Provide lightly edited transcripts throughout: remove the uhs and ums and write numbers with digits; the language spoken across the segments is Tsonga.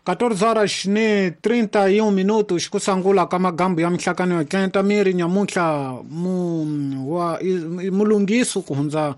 14 horas ni 31 minutos kusangula ka magambo ya mihlakano ya tlenta miri nyamuntlha mu wa mulungiso ku hundza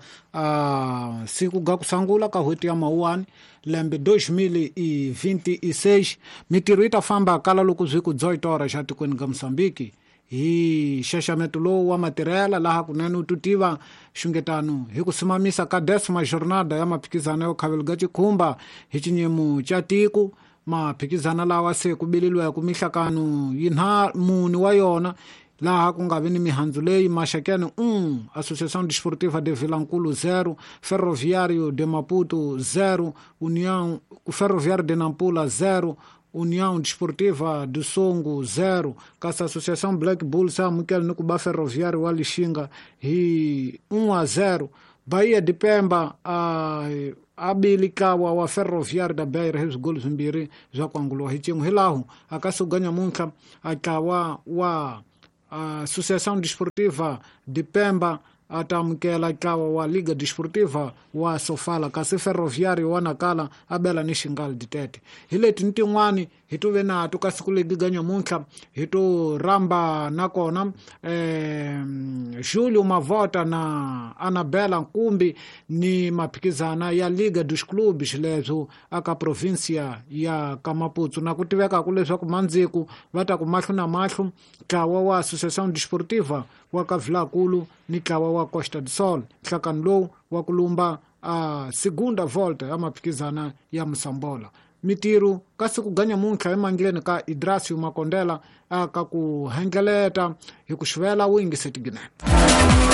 siku ga kusangula ka hweti ya mawuwani lembe 2026 mitirho yi ta famba kala loko zwi ku 18 horas xa tikweni ga Mozambique hi xaxameto lowu wa matirhela laha kunene u tutiva xungetano hi ku simamisa ka 10ª jornada ya maphikizano yo khavelo ga xikhumba hi xinyemo xa tiko maphikizana lawa se ku bililweke mihlakano yinha mune wa yona laha ku nga vi ni mihandzu leyi Maxakene 1 Associação Desportiva de Vilankulo 0 Ferroviário de Maputo 0 União Ferroviário de Nampula 0 União Desportiva do Songo 0 kasi Associação Black Bulls amukela ni ku ba Ferroviário wa Lixinga hi 1-0 Bahia de Pemba a bili ntlawa wa Ferroviário da Beira hi swigolo swimbirhi swa ku anguliwa hi xin'we hilaho a ka suka nyamuntlha a ntlawa wa Associação Desportiva de Pemba a ta amukela ntlawa wa Liga Desportiva wa Sofala kasi Ferroviário wa Nakala a bela ni Xingal Ditete hi leti ni tin'wani hi to ve nato ka siku legi ga nyamuntlha hi to rhamba nakona Julio Mavota na Anabela Nkumbi ni maphikizana ya Liga dos Clubes leswo aka provincia ya ka Maputo na ku tivekaka leswaku mandziku va ta ku mahlo na mahlo ntlawa wa Associação Desportiva wa ka Vilankulu ni ntlawa wa Costa do Sol nhlakano lowu wa ku lumba a segunda volta ya maphikizana ya Mosambola mitirho ka siku ga nyamuntlha emandleni ka Idrasio Makondela aka ku hengeleta hi ku xivela wuyingiseti ginene.